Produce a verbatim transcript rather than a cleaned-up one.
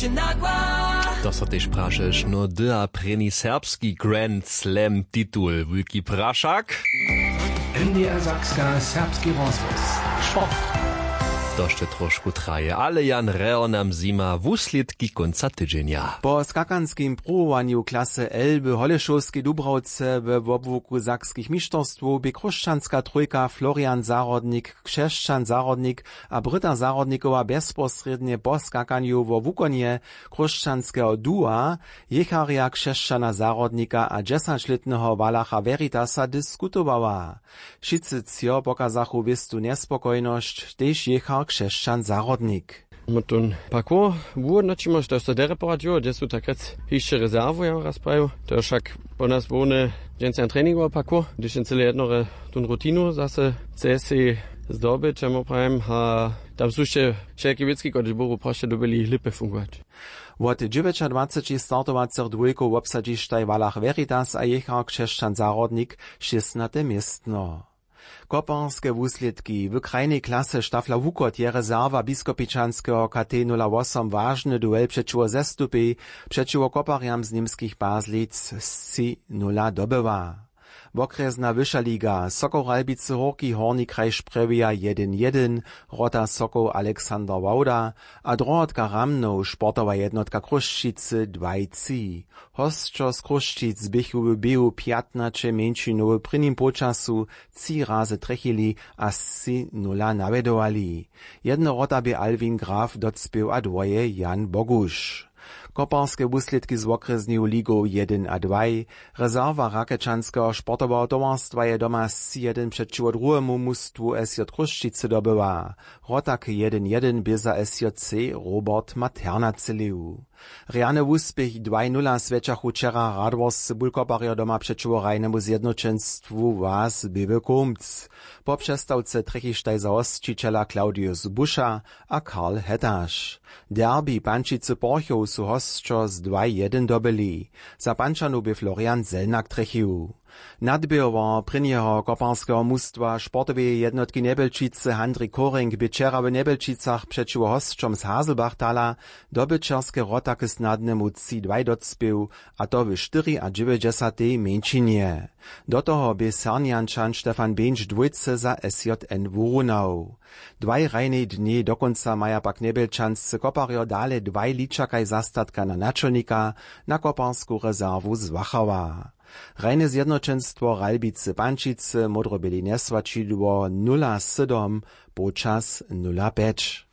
To so tež prašeš no dy a prěni serbski grand slam titul wulki prašak. N D R Sakska, serbski rozhłos, sport. To sće trošku traje ale jan reho nam zjima wuslědki kónca tydźenja. Po skakanskim pruwowanju klasy l w holešowskej dubrawce we wobłuku sakskich mišterstwow bě chróšćanska trójka florian zahrodnik, křesćan zahrodnik a bryta zahrodnikowa bjezposrědnje po skakanju wo wukonje chróšćanskeho duwa jěcharja křesćana zahrodnika a dźesaćlětneho walacha veritasa diskutowała. Wšitcy třo pokazachu wěstu njespokojnosć tež jěchar křesćan zahrodnik. Mótón parkour wuhódnoćimo što so derje poradźiło hdźe su takrjec hišće rezerwu ja raz prajił. To je wšak po nas hłowny dźensa treningowy parkour hdyž jen cyle jednore tón rutinu zase chce sej zdobyć čemu prajim a tam su hišće wšelki wěcki kotryž buru prosće dyrbjeli lěpje fungować. Wot dźewjećadwaceći startowacych dwójkow wobsadźištaj walach veritas a jěchar křesćan zahrodnik šěstnate městno. Koparske wuslědki w krajnej klasy štafla wukot je rezerwa biskopičanskeho kt nula wosom wažny duel přećiwo zestupej přećiwo koparjam z němskich bazlic sci nula dobyła. Wokrjesna wyša liga sokoł ralbicy hórki hórni kraj šprjewja jedyn jedyn, rota sokoł alexander wawda a drohotka ramnow sportowa jednotka chrósćicy dwaj tři. Hosćo z chrósćic běchu w běhu pjatnaće mjeńšinow w prěnim połčasu tři razy trjechili a sci nula nawjedowali. Jedna rota bě alwin graf docpěł a dwoje jan boguš. Koparske wuslědki z wokrjesneju ligow jedyn a dwaj. Rezerwa rakečanskeho sportoweho towarstwa je doma sci jedyn přećiwo druhemu mustwu sj chrósćicy dobyła. Rotak jedyn jedyn bě za sj c robert materna třělił. Rjany wuspěch dwaj nula swjećachu wčera radworscy bulkoparjo doma přećiwo hrajnemu zjednoćenstwu was běły kumc. Po přestawce trjechištaj za hosćićela claudius buša a karl hetaš. Derbi pančicy porchow su hosćo z dwaj jedyn dobyli. Za pančanow bě florian zelnak trjechił. Nadběhowar prěnjeho koparskeho mustwa sportoweje jednotki njebelčicy handri koring bě wčera w njebelčicach přećiwo hosćom z haselbachtala dobyćerske rotaky snadnemu tři dwaj docpěł, a to w štyriadźewjećdźesatej mjeńšinje. Do toho bě sernjančan stefan běńš dwójce za sj n wurunał. Dwaj hrajnej dnjej dokónca maja pak njebelčanscy koparjo dale dwaj ličakaj zastatka na načelnika na koparsku rezerwu z wachała. Hrajne zjednoćenstwo ralbicy pančicy módroběli njeswaćidło nula sydom połčas nula pjeć.